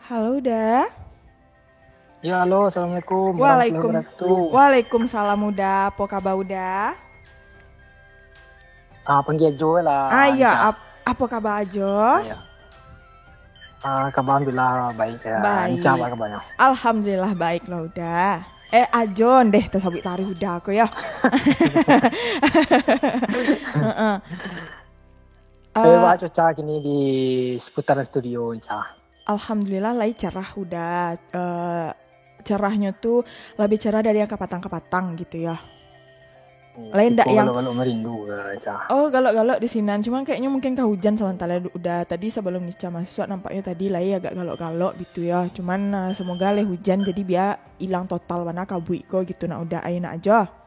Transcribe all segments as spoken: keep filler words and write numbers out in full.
Halo, Uda. Ya, halo, assalamualaikum warahmatullahi Waalaikum-, wabarakatuh. Waalaikumsalam, Uda. Apo kaba, Uda? Ah, panggia Ajo lah, Ah, iya, Nica. ap-, apo kaba, Ajo? Iya. Ah, kaba alhamdulillah baik, ya. Baik. Nica, apo kabanyo? Alhamdulillah, baik lah, Uda. Eh, Ajo, ndeh, tasabuik taruih Uda ko, ya. Heeh. Eh, Eh, baa cuaca kini di seputaran studio, Nica? Alhamdulillah, lai cerah Uda. Eh, cerahnyo tu labiah cerah dari yang kapatang-kapatang gitu ya. Hmm, Lain ndak tipe yang galok-galok merindu ke, Nica? Oh, galok-galok di sinan. Cuman kayaknya mungkin ka hujan samantara Uda. Tadi sebelum Nica masuk, nampaknya tadi lai agak galok-galok gitu ya. Cuman, eh, semoga lai hujan, jadi bia ilang total bana kabuik ko gitu, nak Uda, ai nak Ajo.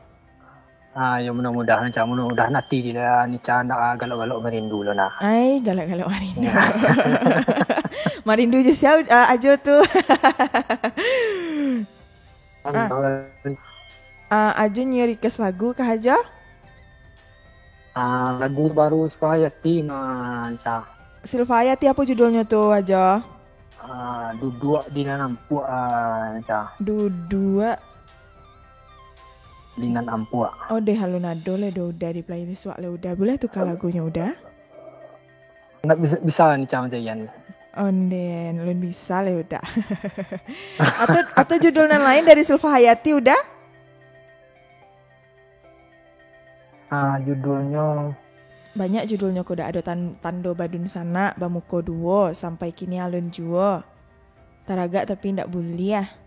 Ah, yo, mudah-mudahan, Nica, mudah-mudahan ati Nica ndak galok-galok merindu lo nah. Ai, galok-galok marindu. Ya. Marindu jo sia, ah, Ajo tu? Ah. Ah, Ajo nio request lagu kah, Ajo? Ah, lagu baru Silva Hayati, nah, Nica. Silva Hayati, apo judulnyo tu, Ajo? Ah, Duduak di Nan Ampuak, ah, Nica. Duduak di Nan Ampuak. Oh, deh, alun ado lai doh Uda di playlist wak lai Uda. Buliah tukar lagunyo Uda? Ndak bisa, bisa Nica mancarian. Onden, alun bisa lai Uda. Atau, atau judul nan lain dari Silva Hayati Uda? Ah, judulnyo Banyak judulnyo ko, Uda. Ado tan-, Tando Badunsanak, Bamuko Duo, Sampai Kini Alun Juo, Taragak Tapi Ndak Buliah.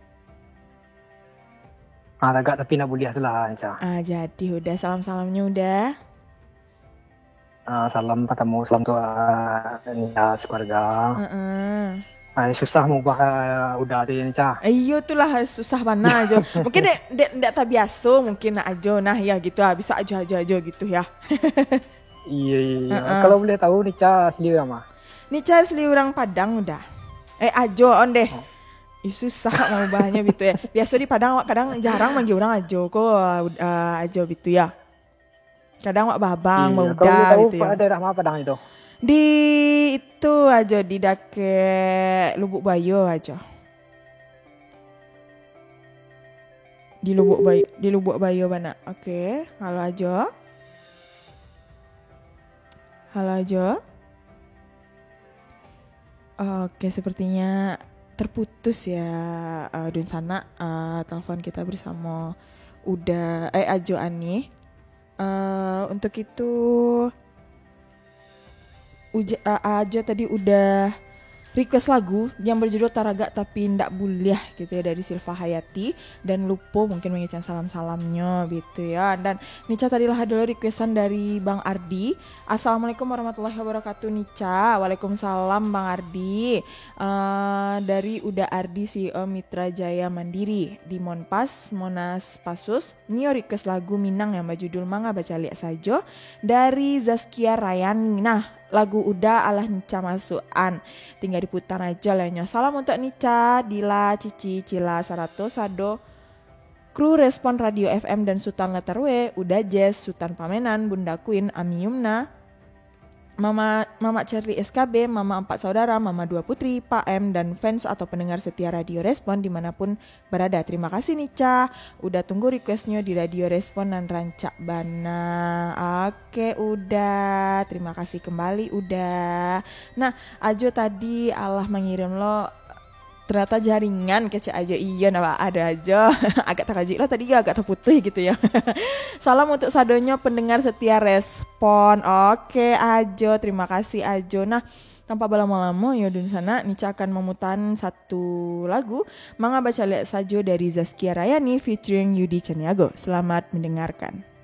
Ah, taragak tapi ndak buliah tu lah, Nica. Ah, jadi Uda, salam-salamnyo Uda. Ah, salam pertamo, salam tu, ah, Nica sekeluarga. Heeh. Ah, susah maubah, ah, Uda tu, Nica. Eh, iyo tu lah, susah bana Ajo. Mungkin dek, dek, ndak tabiaso mungkin nak Ajo, nah, ya gitu, ah, bisa Ajo, Ajo, Ajo gitu ya. Iya, iya, iya. Heeh. Kalau boleh tahu, Nica asli urang ma? Nica asli urang Padang Uda. Eh, Ajo, ondeh. Oh. Ih, susah maubahnyo gitu ya. Biaso di Padang awak kadang jarang manggil urang Ajo ko, ah, Ajo gitu ya. Kadang awak babang, Iya, bauda kalau boleh tahu, gitu ya. Daerah ma Padang itu? Di itu Ajo, di dakek Lubuk Bayo Ajo. Di Lubuk Bay-, di Lubuk Bayo bana. Oke, halo Ajo. Halo Ajo. Oke, sepertinya terputus ya, eh, Dunsanak, eh, telepon kita bersama Uda, eh, Ajo Ani. Eh, untuk itu, Uja-, eh, Ajo tadi udah request lagu yang berjudul Taragak Tapi Ndak Buliah gitu ya, dari Silva Hayati, dan lupo mungkin mangecek salam-salamnyo gitu ya. Dan Nica tadi lah ado requestan dari Bang Ardi. "Assalamualaikum warahmatullahi wabarakatuh, Nica." Waalaikumsalam, Bang Ardi. Eh, dari Uda Ardi, C E O Mitra Jaya Mandiri di Monpas, Monas, Pasus. Nio request lagu Minang yang bajudul Manga Bacaliak Sajo dari Zaskia Rayani. Nah, lagu Uda alah Nica masuak-an. Tingga diputar ajo lah nyo. Salam untuk Nica, Dila, Cici, Cila, sarato sado kru Respon Radio F M dan Sutan Letter W, Uda Jazz, Sutan Pamenan, Bunda Queen, Ami Yumna, Mama, Mamak Charlie S K B, Mama Ampat Saudara, Mama Dua Putri, Pak M, dan fans atau pendengar setia Radio Respon dimanapun berada. Terima kasih Nica, udah tunggu requestnyo di Radio Respon nan rancak bana. Oke, Uda. Terima kasih kembali, Uda. Nah, Ajo tadi alah mangirim lo, ternyata jaringan kecek Ajo. Iyo, nah, ado Ajo. Agak takajuik lah tadi, agak terputus gitu ya. Salam untuk sadonyo pendengar setia Respon. Oke, Ajo. Terima kasih, Ajo. Nah, tanpa balamo-lamo, yo Dunsanak, Nica akan mamutaran satu lagu, Manga Bacaliak Sajo dari Zaskia Rayani featuring Yudi Caniago. Selamat mendengarkan.